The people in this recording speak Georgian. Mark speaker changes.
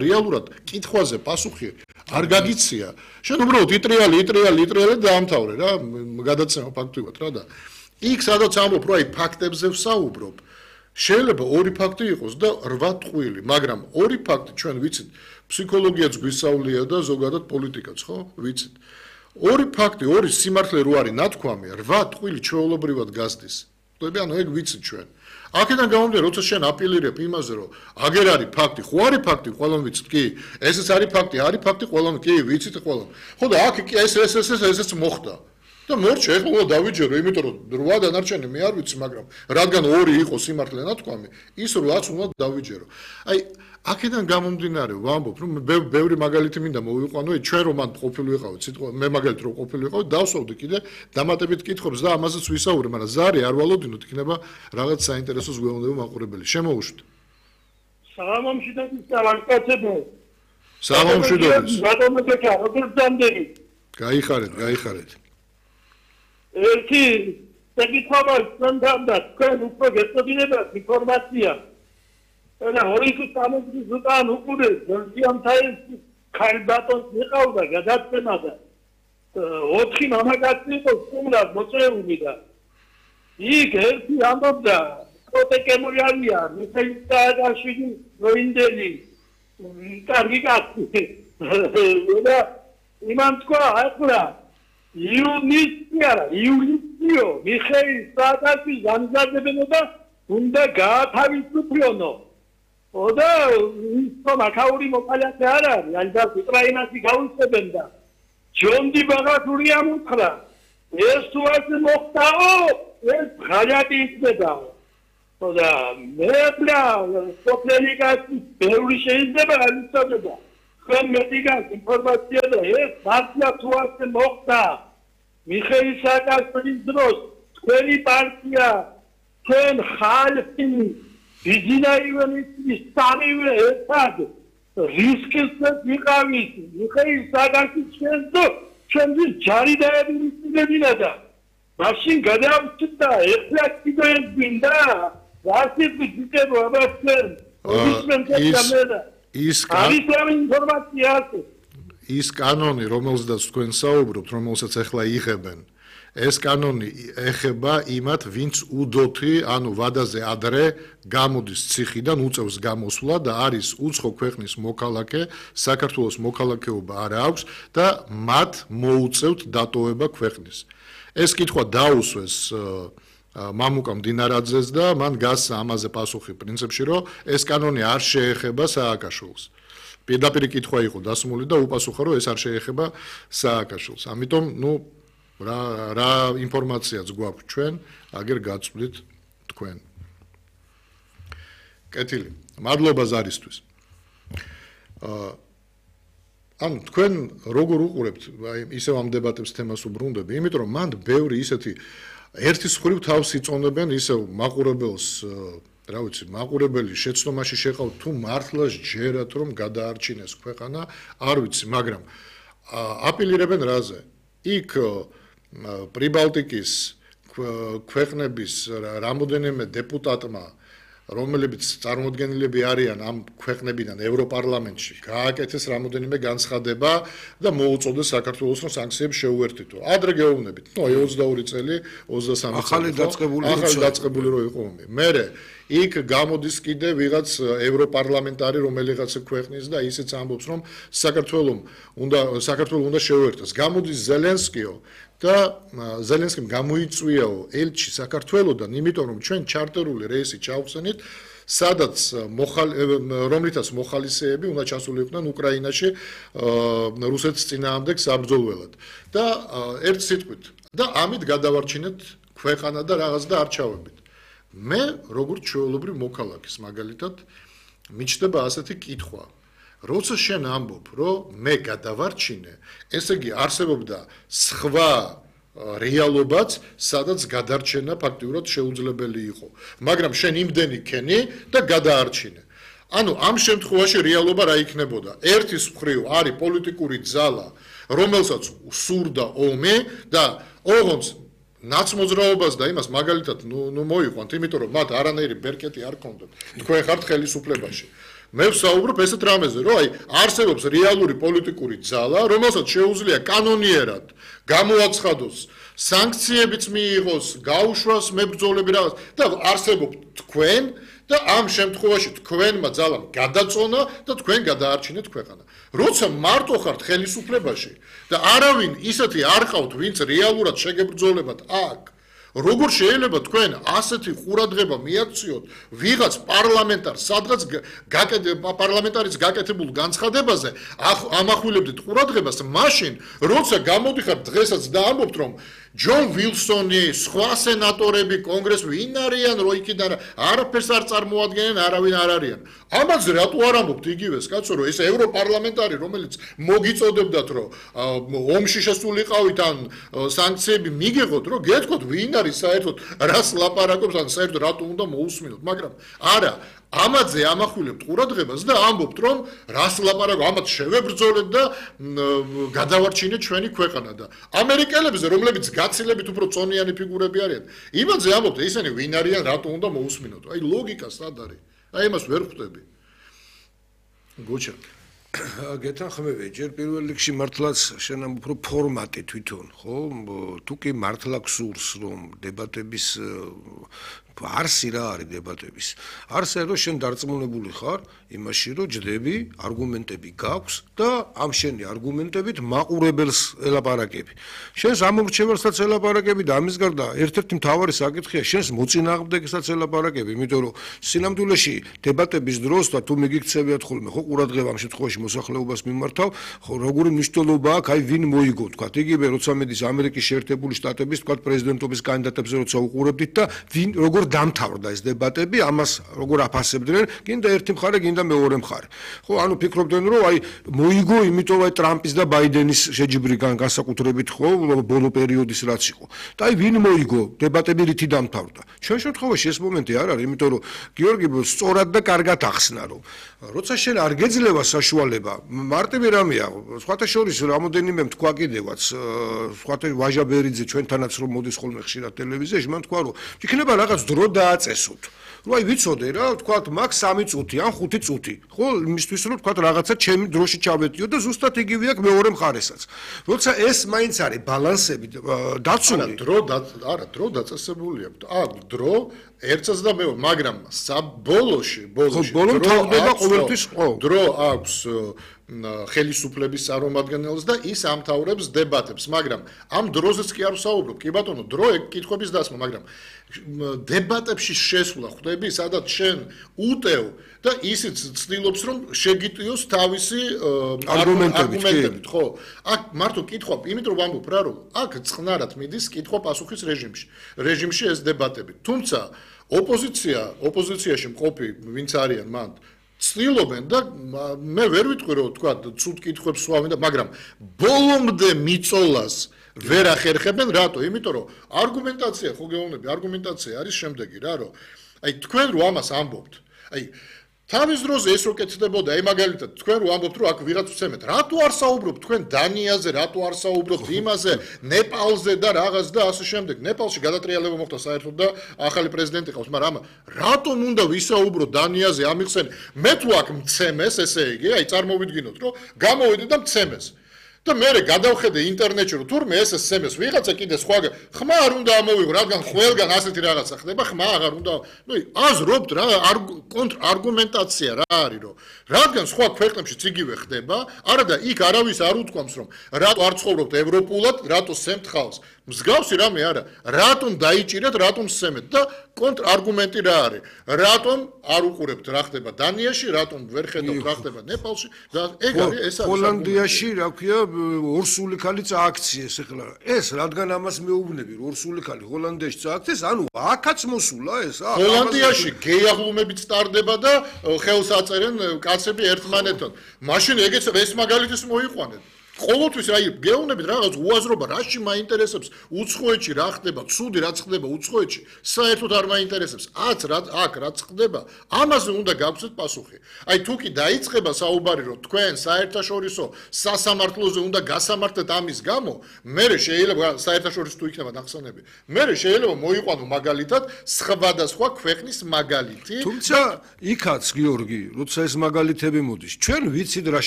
Speaker 1: რეალურად კითხვაზე პასუხი არ გაგიცია. შენ უბრალოდ იტრიალი დაამთავრე რა, გადაცემა ფაქტობრივად რა და იქ სადაც ამბობ, რომ აი ფაქტებზე ვსაუბრობ, შეიძლება ორი ფაქტი იყოს და 8 ტყვილი, მაგრამ ორი ფაქტი ჩვენ ვიცით, ფსიქოლოგიაც გვისწავლია და ზოგადად პოლიტიკაც, ხო? ვიცით. ორი ფაქტი, ორი სიმართლე რო არის ნათქვამი, 8 ტყვილი ჩვეულებრივად გასდის. ხტები, ანუ ეგ ვიცით ჩვენ. აქედან გამომდინარე, როცა შენ აპილირებ იმაზე, რომ აგერ არის ფაქტი, ხო არის ფაქტი, ყველამ ვიცით, კი. ესეც არის ფაქტი, ყველამ კი, ვიცით ყველამ. ხო და აქ კი ესეც მოხდა. და მორჩა ეხლა დავიჯერო, იმიტომ რომ 8 დანარჩენი მე არ ვიცი, მაგრამ რადგან 2 იყო სიმართლე ნათქვამი, ის 8-ს უნდა დავიჯერო. აი, აქედან გამომდინარე, ვამბობ, რომ ბევრი მაგალითი მინდა მოვიყვანო, ჩვენ რომ მან ყოფილი ვიყავით, სიტყვა მე მაგალითად რომ ყოფილი ვიყავით, დავსვავდი კიდე დამატებით კითხვებს და ამაზეც ვისაუბრე, მაგრამ ზარი არ ვალოდინოთ, იქნება რაღაც საინტერესო ზღვეონდება მაყურებელი. შემოუშვით.
Speaker 2: საღამომშვიდობის კაცებო.
Speaker 1: საღამომშვიდობის.
Speaker 2: რატომ ეკა, როგორ დამდები?
Speaker 1: გაიხარეთ.
Speaker 2: ერთი საკითხობა სანდანდა, თქვენ უფრო გეცოდინებათ ინფორმაცია. და ორი სამოძის უკან უკურე ზიანთაის ქალბატონს იყავდა გადაცემა და 4 მამაკაცი იყო სტუმრად მოწვეული და იქ ერთი ამბობდა პროტეკემური არია მიხეილ როინდელი კარგი კაცი და იმან თქვა ახლა იულიო მიხეილ სააკაშვილის განზრახებენება უნდა გაათავისუფლონო. და ის მაქაური მოყალათე არ არის, ალბათ უკრაინაში გაუწევენ და ჯონდი ბაღათური ამოხრა. ეს თუ ასე მოხდაო, ეს ღალატი იქნებაო. და მე ბლა სოფლენიკაში ბევრი შეიძლება განიცადება. ხომ მედიკას ინფორმაცია და ეს მართლა თუ ასე მოხდა. მიხეილ სააკაშვილის დროს თქვენი პარტია, თქვენ ხალხი Vizina Ivanistis, Samivre, Estad, Risks Mikavit, Mikhail Saakashvili Chendis Jarida Vinada. Machine Gadavchita, Eflaktidoen Binda, Vasit Vitebo Abasten,
Speaker 1: ის კანონი, რომელზეც თქვენ საუბრობთ, რომელსაც ახლა იღებენ, ეს კანონი ეხება იმათ, ვინც უდოთი, ანუ ვადაზე ადრე გამოდის ციხიდან, უწევს გამოსვლა და არის უცხო ქვეყნის მოქალაქე, საქართველოს მოქალაქეობა არ აქვს და მათ მოუწევთ დატოვება ქვეყნის. ეს კითხვა დაუსვეს მამუკა მდინარაძეს და მან გასცა ამაზე პასუხი პრინციპში, რომ ეს კანონი არ შეეხება სააკაშვილს. პირდაპირ კითხვა იყო დასმული და უპასუხა, რომ ეს არ შეეხება სააკაშვილს. ამიტომ, რა ინფორმაციაც გვაქვს ჩვენ, აგერ გაწვდით თქვენ. კეთილი, მადლობა ზარისთვის. ანუ თქვენ როგორ უყურებთ, აი ისევ ამ დებატებს თემას უბრუნდები, იმიტომ რომ მან ბევრი ისეთი ერთის მხრივ თავს იწონებენ ისევ მაყურებელს, რა ვიცი, მაყურებელი შეცდომაში შეყავთ თუ მართლა ჯერათ რომ გადაარჩინეს ქვეყანა, არ ვიცი, მაგრამ აპილირებენ რაზე? იქ პრიბალტიკის ქვეყნების რამოდენიმე დეპუტატმა, რომლებიც წარმოდგენილები არიან ამ ქვეყნებიდან ევროპარლამენტში, გააკეთეს რამოდენიმე განცხადება და მოუწოდეს საქართველოს რომ სანქციებს შეუერთითო. ადრე გეუბნებით, 22 წელი, 23
Speaker 3: ახალი
Speaker 1: დაწყებული რო იყო ომი. მერე იქ გამოდის კიდე ვიღაც ევროპარლამენტარი რომელიღაც ქვეყნის და ისიც ამბობს რომ საქართველოს უნდა შეუერთოს. გამოდის ზელენსკიო და ზელენსკიმ გამოიწვიაო ელჩი საქართველოსდან, იმიტომ რომ ჩვენ ჩარტერული რეისი ჩავხსენით, სადაც რომლითაც მოხალისეები უნდა ჩასულიყვნენ უკრაინაში რუსეთის წინააღმდეგ საბრძოლველად. და ერთ სიტყვით და ამით გადავარჩინეთ ქვეყანა და რაღაც და არჩევებით. მე როგორც ჩვეულებრივ მოქალაქის მაგალითად მიჩნდება ასეთი კითხვა. როცა შენ ამბობ, რომ მე გადავარჩინე, ესე იგი არსებობდა სხვა რეალობაც, სადაც გადარჩენა ფაქტიურად შეუძლებელი იყო. მაგრამ შენ იმდენი ქენი და გადაარჩინე. ანუ ამ შემთხვევაში რეალობა რა იქნებოდა? ერთის მხრივ არის პოლიტიკური ძალა, რომელსაც სურდა ომი და ოღონდ ნაცმოძრაობას და იმას მაგალითად მოიყვანთ, იმიტომ რომ მათ არანაირი ბერკეტი არ ქონდათ. თქვენ ხართ ხელისუფლებაში. მე ვსაუბრობ ესეთ რამეზე, რომ აი არსებობს რეალური პოლიტიკური ძალა, რომელსაც შეუძლია კანონიერად გამოაცხადოს სანქციებიც მიიღოს, გაუშვას მებრძოლები რაღაც და არსებობთ თქვენ და ამ შემთხვევაში თქვენმა ძალამ გადაწონა და თქვენ გადაარჩინეთ ქვეყანა. როცა მარტო ხართ ხელისუფლებაში და არავინ ისეთი არ ყავთ, ვინც რეალურად შეგებრძოლებათ აქ, როგორ შეიძლება თქვენ ასეთი ყურადღება მიაქციოთ ვიღაც პარლამენტარს, სადღაც პარლამენტარის გაკეთებულ განცხადებაზე, ამახვილებდით ყურადღებას მაშინ, როცა გამოდიხართ დღესაც და ამბობთ, რომ ჯონ ვილსონი, სხვა სენატორები, კონგრესი ვინ არიან, რო იქიდან არაფერს არ წარმოადგენენ, არავინ არ არიან. ამაზე რატო არ ამბობთ იგივეს, კაცო, რომ ეს ევროპარლამენტარი, რომელიც მოგიწოდებდათ, რომ ომში შესულიყავით ან სანქციები მიგიღოთ, რომ გეტყვით ვინ არის საერთოდ რას ლაპარაკობს, ან საერთოდ რატო უნდა მოусმინოთ, მაგრამ არა ამაზე ამახვილებთ ყურადღებას და ამბობთ, რომ რას ლაპარაკობ, ამათ შევებრძოლეთ და გადავარჩინეთ ჩვენი ქვეყანა და ამერიკელებზე, რომლებიც გაცილებით უფრო წონიანი ფიგურები არიან, იმაზე ამბობთ, ისინი ვინ არიან, რატო უნდა მოусმინოთ. აი ლოგიკა სად არის? აი იმას ვერ ხვდები. გოჩა.
Speaker 3: გეთანხმები, ჯერ პირველ რიგში მართლაც შენ ამ უფრო ფორმატი თვითონ, ხო? თუ კი მართლა გსურს, რომ დებატების არსი რა არის დებატების. არსი რომ შენ დარწმუნებული ხარ იმაში, რომ ჯდები, არგუმენტები გაქვს და ამ შენი არგუმენტებით მაყურებელს ელაპარაკები. შენს ამორჩევალსაც ელაპარაკები და ამის გარდა ერთ-ერთი მთავარი საკითხია შენს მოწინააღმდეგესაც ელაპარაკები, იმიტომ რომ სინამდვილეში დებატების დროს და თუ მიგიქცევიათ ხოლმე, ხო ყურადღება ამ შემთხვევაში მოსახლეობას მიმართავ, ხო როგორი მნიშვნელობა აქვს, აი ვინ მოიგო, თქვა, იგივე როცა მედის ამერიკის შეერთებული შტატების, თქვა, პრეზიდენტობის კანდიდატებზე როცა უყურებდით და ვინ როგორ დამთავრდა ეს დებატები, ამას როგორ აფასებდნენ, გინდა ერთი მხარე, გინდა მეორე მხარე. ხო, ანუ ფიქრობდნენ, რომ აი მოიგო, იმიტომ აი ტრამპის და ბაიდენის შეჯიბრი განსაკუთრებით, ხო, ბოლო პერიოდის რაც იყო. და აი ვინ მოიგო, დებატები რითი დამთავრდა. ჩვენ შემთხვევაში ეს მომენტი არ არის, იმიტომ რომ გიორგი სწორად და კარგად ახსნა, რომ როცა შენ არ გეძლევა საშუალება, მარტივი რამეა, სხვათა შორის რამოდენიმე თქვა კიდევაც, სხვათა ვაჟა ბერიძე ჩვენთანაც რომ მოდის ხოლმე ხშირად ტელევიზიაში, მან თქვა, რომ იქნება რაღაც დრო დააწესოთ. რომ აი ვიცოდე რა, თქვათ, მაგ 3 წუთი ან 5 წუთი, ხო, იმისთვის რომ თქვათ რაღაცა ჩემი დროში ჩავეტიო და ზუსტად იგივე აქვს მეორე მხარესაც. როცა ეს მაინც არის ბალანსები დაცული,
Speaker 1: დრო დაწესებული აქვს. აქვს დრო ერთსაც და მეორე, მაგრამ ბოლოში
Speaker 3: ბოლო თავდება ყოველთვის ხო.
Speaker 1: დრო აქვს ხელისუფლების წარმომადგენელს და ის ამთავრებს დებატებს, მაგრამ ამ დროზეც კი არ ვსაუბრობ. კი ბატონო, დრო კითხვების დასმა, მაგრამ დებატებში შესვლა ხვდები, სადაც შენ უტევ და ისიც ცდილობს, რომ შეგიტიოს თავისი არგუმენტებით, ხო? აქ მარტო კითხვა, იმიტომ რომ ამბობ რა, რომ აქ წყნარად მიდის კითხვა-პასუხის რეჟიმში ეს დებატები. თუმცა ოპოზიციაში მყოფი ვინც არიან მან ცდილობენ და მე ვერ ვიტყვი რომ თქვა ცუდ კითხვებს სვავენ და მაგრამ ბოლომდე მიწოლას ვერ ახერხებენ რატო? იმიტომ რომ არგუმენტაცია ხო გეუბნები, არგუმენტაცია არის შემდეგი რა, რომ აი თქვენ რო ამას ამბობთ, აი თავის დროზე ეს რო კეთდებოდა, აი მაგალითად თქვენ რო ამბობთ რომ აქ ვიღაც ვცემეთ, რატო არ საუბრობთ თქვენ დანიაზე, რატო არ საუბრობთ იმაზე, ნეპალზე და რაღაც და ასე შემდეგ. ნეპალში გადატრიალება მოხდა საერთოდ და ახალი პრეზიდენტი ყავს, მაგრამ რატომ უნდა ვისაუბროთ დანიაზე ამიხსენ? მე თუ აქ მცემეს, ესე იგი, აი წარმოვიდგინოთ რომ გამოვიდე და მცემეს. და მე გადავხედე ინტერნეტში რომ თურმე ეს SMS ვიღაცა კიდე სხვა ხმა არ უნდა ამოვიღო, რადგან ყველგან ასეთი რაღაცა ხდება, ხმა აღარ უნდა. ნუ აზრობთ რა, არგუმენტაცია რა არის, რომ რადგან სხვა ქვეყნებშიც იგივე ხდება, არა და იქ არავის არ უთქვამს რომ რატო არ ცხოვრობთ ევროპულად, რატო სემთ ხალხს. მსგავსი რამე არა, რატომ დაიჭირეთ, რატომ სცემეთ და კონტრარგუმენტი რა არის? რატომ არ უყურებთ რა ხდება დანიაში, რატომ ვერ ხედავთ რა ხდება ნეპალში და ეგ არის ეს არის
Speaker 3: ჰოლანდიაში, რა ქვია, ორსული ქალი წააქციეს ახლა. ეს რადგან ამას მეუბნები, რომ ორსული ქალი ჰოლანდიაში წააქციეს, ანუ აქაც მოსულა ეს?
Speaker 1: ჰოლანდიაში გეიაღლუმებით სტარდება და ხელს აწერენ კაცები ერთმანეთთან. მაშინ ეგეც ეს მაგალითის მოიყვანეთ. ყოველთვის აი გეუბნებით რაღაც უაზრობა რაში მაინტერესებს უცხოეთში რა ხდება, ცუდი რაც ხდება უცხოეთში, საერთოდ არ მაინტერესებს. აქ რაც ხდება, ამაზე უნდა გავცეთ პასუხი. აი თუ კი დაიწყება საუბარი რომ თქვენ საერთაშორისო სასამართლოზე უნდა გასამართლეთ ამის გამო, მე შეიძლება საერთაშორისო თუ იქნება ნახსენები, მე შეიძლება მოიყვანო მაგალითად სხვადასხვა ქვეყნის მაგალითი.
Speaker 3: თუმცა იქაც გიორგი, როცა ეს მაგალითები მოდის, ჩვენ ვიცით რა